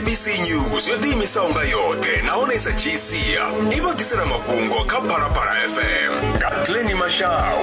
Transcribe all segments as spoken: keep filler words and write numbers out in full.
S A B C News yo ḓiimisaho nga yoṱhe nahone sa dzhii sia i vha ḓisela mafhungo kha Phalaphala F M nga Glenny Mashau.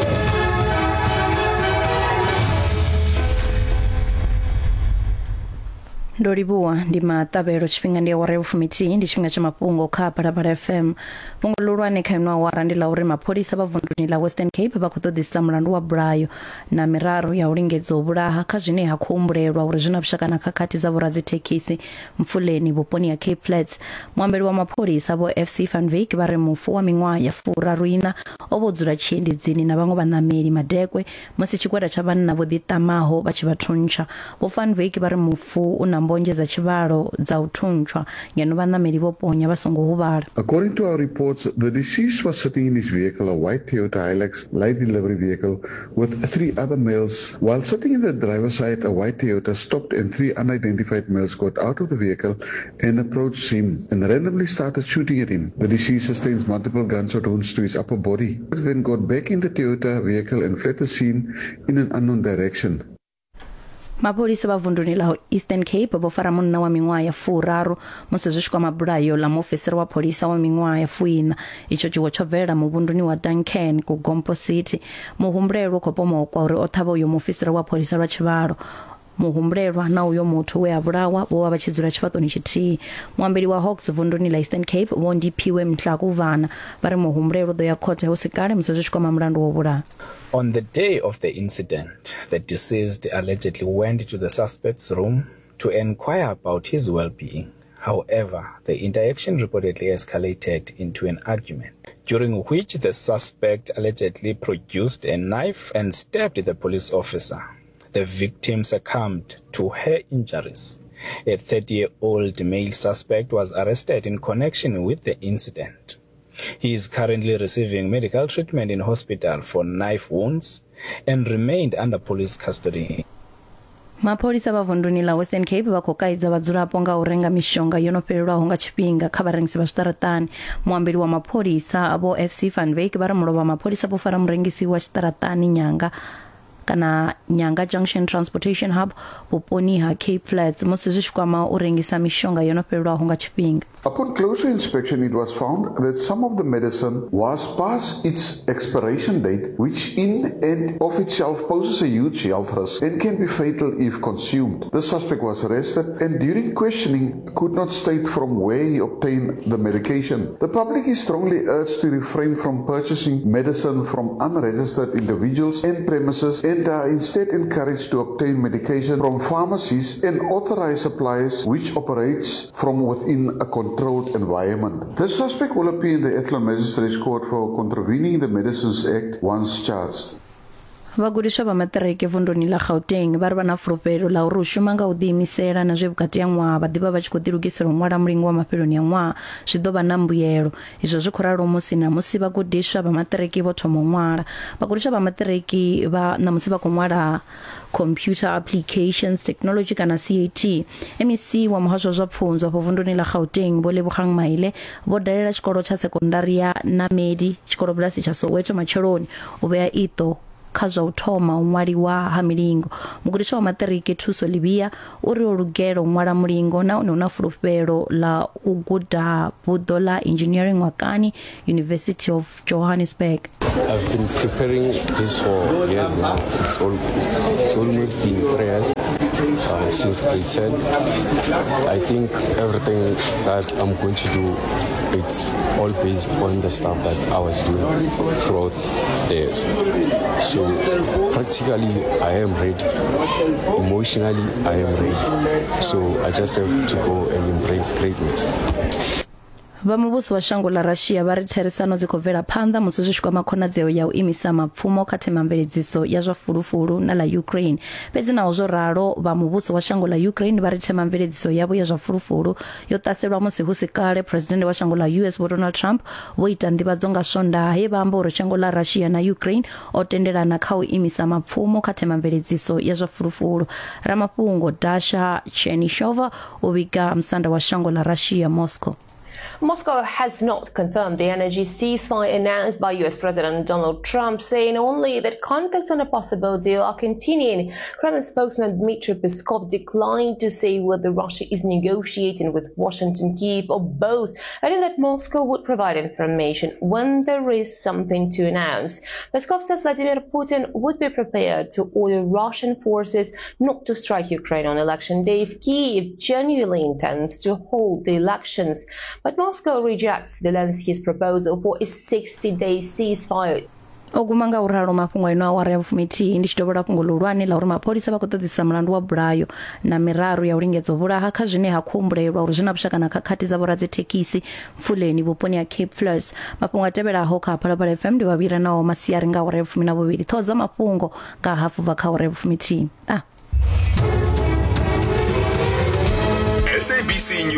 Ndo livhuwa, ndi maṱavhelo. Tshifhinga ndi awara ya vhufumithihi, ndi tshifhinga tsha mafhungo kha Phalaphala F M. Fhungo ḽihulwane kha ino awara ndi ḽa uri mapholisa vha vunduni ḽa Western Cape vha khou ṱoḓisisa mulandu wa bulayo na miraru ya u lingedza u vhulaha kha zwine ha khou humbulelwa uri zwi na vhushaka na khakhathi dza vhoradzithekhisi Mfuleni vhuponi ha Cape Flats. Muambeli wa mapholisa Vho F C van Wyk vha ri mufu wa miṅwaha ya furaru ina o vho dzula tshiendedzini na vhaṅwe vhaṋameli madekwe musi tshigwada tsha vhanna vho ḓiṱamaho vha tshi vha thuntsha. Vho van Wyk vha ri mufu u na mbonzhe dza tshivhalo dza u thuntshwa, ngeno vhaṋameli vho ponya vha songo huvhala. According to our reports, the deceased was sitting in his vehicle, a white Toyota Hilux light delivery vehicle, with three other males. While sitting in the driver's side, a white Toyota stopped and three unidentified males got out of the vehicle and approached him and randomly started shooting at him. The deceased sustained multiple gunshot wounds to his upper body. Then got back in the Toyota vehicle and fled the scene in an unknown direction. Mapholisa vha vunduni ḽa Eastern Cape vho fara munna wa miṅwaha ya furaru musi zwi tshi kwama bulayo ḽa muofisiri wa pholisa wa miṅwaha ya fuiṋa. Itsho tshiwo tsho bvelela muvhunduni wa Duncan ku Gompo City. Muhumbulelwa u khou pomokwa uri o ṱhavha uyo muofisiri wa pholisa lwa tshivhalo. Muhumbulelwa na uyo muthu we a vhulawa vho vha vha tshi dzula tshifhaṱoni tshithihi. Muambeli wa Hawks vunduni ḽa Eastern Cape Vho Ndiphiwe Mhlakuvana vha ri muhumbulelwa u ḓo ya khothe hu si kale musi zwi tshi kwama mulandu wo vhulaha. On the day of the incident, the deceased allegedly went to the suspect's room to inquire about his well-being. However, the interaction reportedly escalated into an argument, during which the suspect allegedly produced a knife and stabbed the police officer. The victim succumbed to her injuries. A thirty-year-old male suspect was arrested in connection with the incident. He is currently receiving medical treatment in hospital for knife wounds and remained under police custody. Mapholisa vha vunduni ḽa Western Cape vha khou kaidza vhadzulapo nga u renga mishonga yo no fhelelwaho nga tshifhinga kha vharengisi vha zwiṱaraṱani. Muambeli wa mapholisa Vho F C van Wyk vha ri mulovha mapholisa vho fara murengisi wa tshiṱaraṱani Nyanga kana Nyanga Junction Transportation Hub vhuponi ha Cape Flats musi zwi tshi kwama u rengisa mishonga yo no fhelelwaho nga tshifhinga. Upon closer inspection, it was found that some of the medicine was past its expiration date, which in and of itself poses a huge health risk and can be fatal if consumed. The suspect was arrested and during questioning could not state from where he obtained the medication. The public is strongly urged to refrain from purchasing medicine from unregistered individuals and premises and are instead encouraged to obtain medication from pharmacies and authorized suppliers which operates from within a controlled environment. The suspect will appear in the Athlone Magistrates Court for contravening the Medicines Act once charged. Vhagudiswa vha maṱiriki vunduni ḽa Gauteng vha ri vha na fulufhelo ḽa uri u shuma nga u ḓiimisela na zwe vhukati ha ṅwaha vha ḓivha vha tshi khou ḓilugisela u ṅwala mulingo wa mafheloni a ṅwaha zwi ḓo vha na mbuyelo. Izwo zwi khou ralo musi ṋamusi vhagudiswa vha maṱiriki vho thoma u ṅwala. Vhagudiswa vha maṱiriki vha ṋamusi vha khou ṅwala Computer Applications Technology kana C A T. M E C wa muhasho wa zwa pfunzo afho vunduni ḽa Gauteng Vho Lebogang Maile vho dalela tshikolo tsha sekondari ya Namedi tshikolobulasi tsha Soweto matsheloni u vhea iṱo kha zwa u thoma u ṅwaliwa ha milingo. Mugudiswa wa maṱiriki Thuso Livhia uri o lugela u ṅwala mulingo nahone hu na fulufhelo ḽa u guda buḓo ḽa engineering Ngwakani University of Johannesburg. I've been preparing this for years now. It's, all, it's almost been three years uh, since grade ten. I think everything that I'm going to do, it's all based on the stuff that I was doing throughout the years. So practically, I am ready. Emotionally, I am ready. So I just have to go and embrace greatness. Vha muvhuso wa shango ḽa Russia vha ri therisano dzi khou bvela phanḓa musi zwi tshi kwama khonadzeo ya u imisa mapfumo kha themamveledziso ya zwa fulufulu na ḽa Ukraine. Fhedzi naho zwo ralo, vha muvhuso wa shango ḽa Ukraine vha ri themamveledziso yavho ya zwa fulufulu yo ṱaselwa musi hu si kale presidennde wa shango ḽa U S Vho Donald Trump vho ita nḓivhadzo nga Swondaha he vha amba uri shango ḽa Russia na Ukraine o tendelana kha u imisa mapfumo kha themamveledziso ya zwa fulufulu. Ramafhungo Dasha Chernyshova u vhiga musanda wa shango ḽa Russia Moscow. Moscow has not confirmed the energy ceasefire announced by U S President Donald Trump, saying only that contacts on a possible deal are continuing. Kremlin spokesman Dmitry Peskov declined to say whether Russia is negotiating with Washington, Kyiv, or both, adding that Moscow would provide information when there is something to announce. Peskov says Vladimir Putin would be prepared to order Russian forces not to strike Ukraine on election day if Kyiv genuinely intends to hold the elections. But Moscow rejects Zelensky's proposal for a sixty-day ceasefire. O guma nga uralo mafhungo ino awara ya vhufumithihi ndi tshi dovholola fhungo ḽihulwane ḽa uri mapholisa vha khou ṱoḓisa mulandu wa bulayo na miraru ya u lingedza u vhulaha kha zwine ha khou humbulelwa uri zwi na vhushaka na khakhathi dza vhoradzithekisi Mfuleni vhuponi ha Cape Flats. Mafhungo a tevhelaho kha Phalaphala F M ndi vhavhira nao masiari nga awara ya vhufumi na vhuvhili. Ṱhoho dza mafhungo nga hafu bva kha awara ya vhufumithihi. Ah. S A B C News.